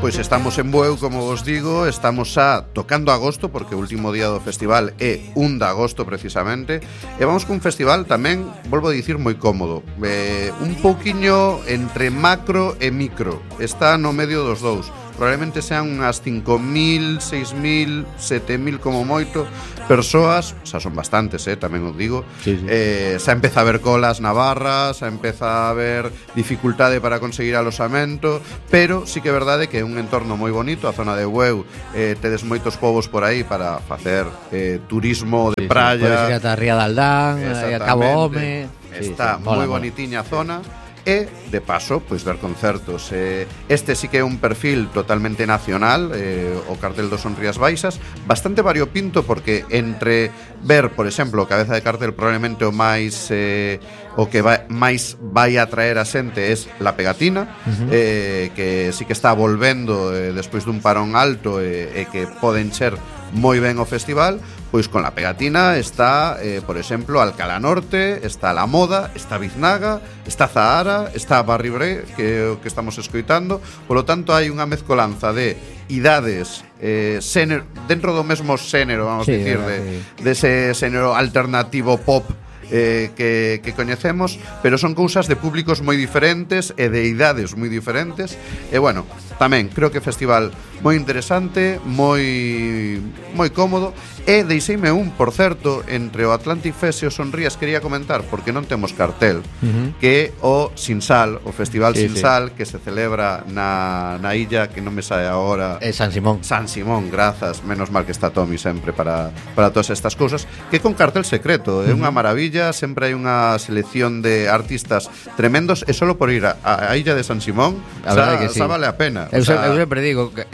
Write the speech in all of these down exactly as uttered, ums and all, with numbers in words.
Pois estamos en Bueu, como vos digo, estamos xa tocando agosto, porque o último día do festival é un de agosto precisamente, e vamos cun festival tamén, volvo a dicir, moi cómodo, eh, un pouquiño entre macro e micro, está no medio dos dous. Probablemente sean unhas cinco mil, seis mil, sete mil como moito persoas, xa son bastantes, eh, tamén os digo. Sí, sí. Eh, xa empeza a haber colas na barra, xa empeza a haber dificultade para conseguir alosamento, pero sí que é verdade que é un entorno moi bonito, a zona de Bueu, eh, tedes moitos povos por aí para facer eh, turismo de sí, praia. Sí, podes ir ata a Ría de Aldán, a Cabo Home. Está sí, sí, moi mola, bonitiña a zona. E, de paso, pois ver concertos. eh, Este sí que é un perfil totalmente nacional, eh, o cartel do Son Rías Baixas, bastante variopinto, porque entre ver, por exemplo, o cabeza de cartel probablemente o máis eh, o que vai, máis vai atraer a xente es La Pegatina, uh-huh. eh, que sí que está volvendo eh, despois dun parón alto e eh, eh, que poden ser moi ben o festival. Pois con La Pegatina está, eh, por exemplo, Alcalá Norte, está La Moda, está Biznaga, está Zahara, está Barribre, que é o que estamos escoitando. Por lo tanto, hai unha mezcolanza de idades, eh, xénero, dentro do mesmo xénero, vamos sí, dicir, sí. de, de ese xénero alternativo pop eh, que, que coñecemos, pero son cousas de públicos moi diferentes e de idades moi diferentes. E bueno, tamén creo que festival moi interesante, moi moi cómodo. E deixeime un, por certo, entre o Atlantic Fest e o Son Rías quería comentar, porque non temos cartel, uh-huh. que é o Sinsal, o Festival sí, Sinsal, sí. que se celebra na, na illa, que non me sae agora. É San Simón. San Simón, grazas, menos mal que está Tommy sempre para, para todas estas cousas, que con cartel secreto, é uh-huh. unha maravilla, sempre hai unha selección de artistas tremendos, e solo por ir a, a illa de San Simón, xa, que sí. xa vale a pena. Eu, o sea, eu sempre digo que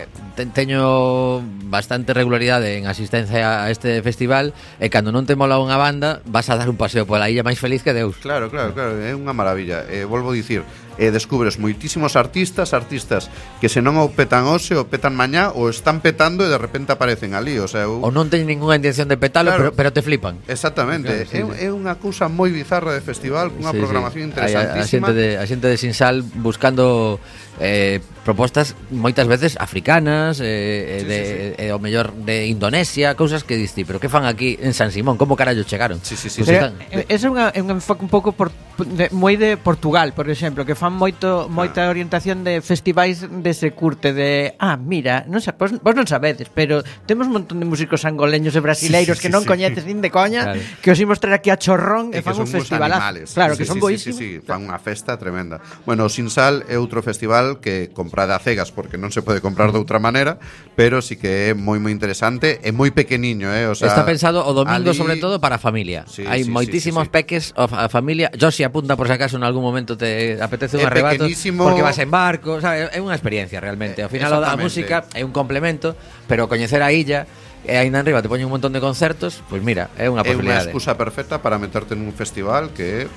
teño bastante regularidade en asistencia a este festival, e cando non te mola unha banda vas a dar un paseo pola illa máis feliz que Deus. Claro, claro, claro, é unha maravilla. eh, Volvo a dicir, eh, descubres moitísimos artistas, artistas que se non o petan hoxe, o petan mañá, ou están petando e de repente aparecen ali. O sea, eu... ou non teñen ninguna intención de petalo, claro, pero, pero te flipan. Exactamente, claro, sí, é, sí. é unha cousa moi bizarra de festival, cunha sí, programación sí. interesantísima. A, a, xente de, a xente de Sinsal buscando eh, propostas moitas veces africanas, eh, sí, de, sí, sí. Eh, o mellor de Indonesia, cousas que diste, pero que fan aquí en San Simón? Como carallo chegaron? Sí, sí, sí, sí. Pero, ese é unha, un enfoque un pouco por, de, moi de Portugal, por exemplo, que fan moito moita ah. orientación de festivais dese curte de, ah, mira, non sei, vos, vos non sabedes, pero temos un montón de músicos angoleños e brasileiros sí, sí, que non sí, coñeces nin de coña, claro. que os imos traer aquí a Chorrón e, e fan un festivalazo. Claro, sí, que sí, son sí, boísimos. Sí, sí, sí, fan unha festa tremenda. Bueno, o Sinsal é outro festival que comprade a cegas, porque non se pode comprar de outra maneira, pero sí que é moi moi interesante e moi pequeniño, eh, o sea, está pensado o domingo ali... sobre todo para a familia. Sí, hai sí, moitísimos sí, sí, peques a familia. Josi apunta por si acaso en algún momento te apetece un arrebato porque vas en barco, sabes, é unha experiencia realmente. Ao final a música é un complemento, pero coñecer a illa e aí na arriba te poñen un montón de concertos, pois pues mira, é unha posibilidade. É unha excusa perfecta para meterte nun festival que é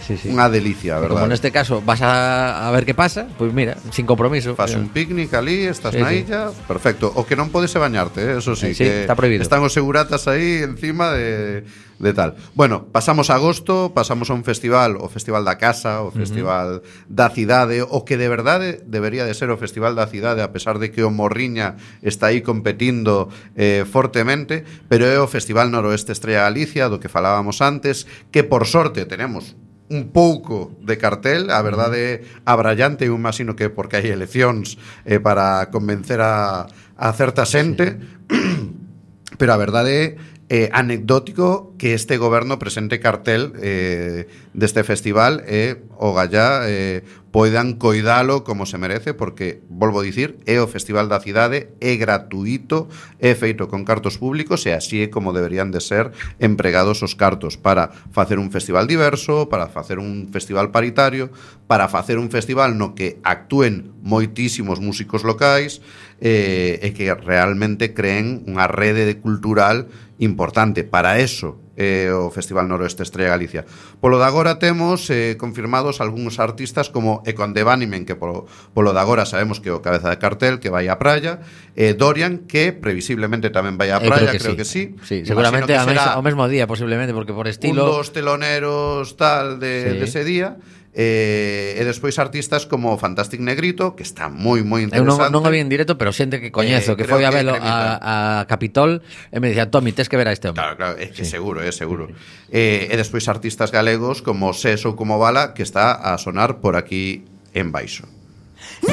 sí, sí. unha delicia, verdad. Como neste caso vas a, a ver que pasa, pois pues mira, sin compromiso. Fas un picnic ali, estás sí, na illa, sí. perfecto. O que non podes é bañarte, eh? Eso sí, sí, que está prohibido. Están os seguratas aí encima de, de tal. Bueno, pasamos a agosto, pasamos a un festival, o Festival da Casa, o Festival uh-huh. da Cidade, o que de verdade debería de ser o Festival da Cidade, a pesar de que o Morriña está aí competindo eh, fortemente, pero é o Festival Noroeste Estrella Galicia, do que falábamos antes, que por sorte tenemos un pouco de cartel, a verdade abrallante, eu imagino que porque hai eleccións eh, para convencer a, a certa xente, sí. pero a verdade é eh, anecdótico que este goberno presente cartel eh, deste festival e eh, o gallá eh, poidan coidalo como se merece, porque, volvo a dicir, é o Festival da Cidade, é gratuito, é feito con cartos públicos e así é como deberían de ser empregados os cartos para facer un festival diverso, para facer un festival paritario, para facer un festival no que actúen moitísimos músicos locais eh, e que realmente creen unha rede de cultural importante. Para eso eh, o Festival Noroeste Estrella Galicia. Polo de agora temos eh, confirmados algúns artistas como Econde Banimen, que polo, polo de agora sabemos que o cabeza de cartel, que vai á praia, eh, Dorian, que previsiblemente tamén vai á praia, eh, creo, que, creo sí. que sí. Sí, seguramente que ao mesmo día, posiblemente, porque por estilo... Un dos teloneros tal de, sí. de ese día. Eh, e despois artistas como Fantastic Negrito, que está moi moi interesante. Eu non, non o vi en directo, pero xente que coñezo, eh, que foi a velo a, a Capitol e me dicía, Tomi, tes que ver a este hombre. Claro, claro, é que sí. seguro, é seguro. Eh, e despois artistas galegos como Ses ou como Bala, que está a sonar por aquí en baixo.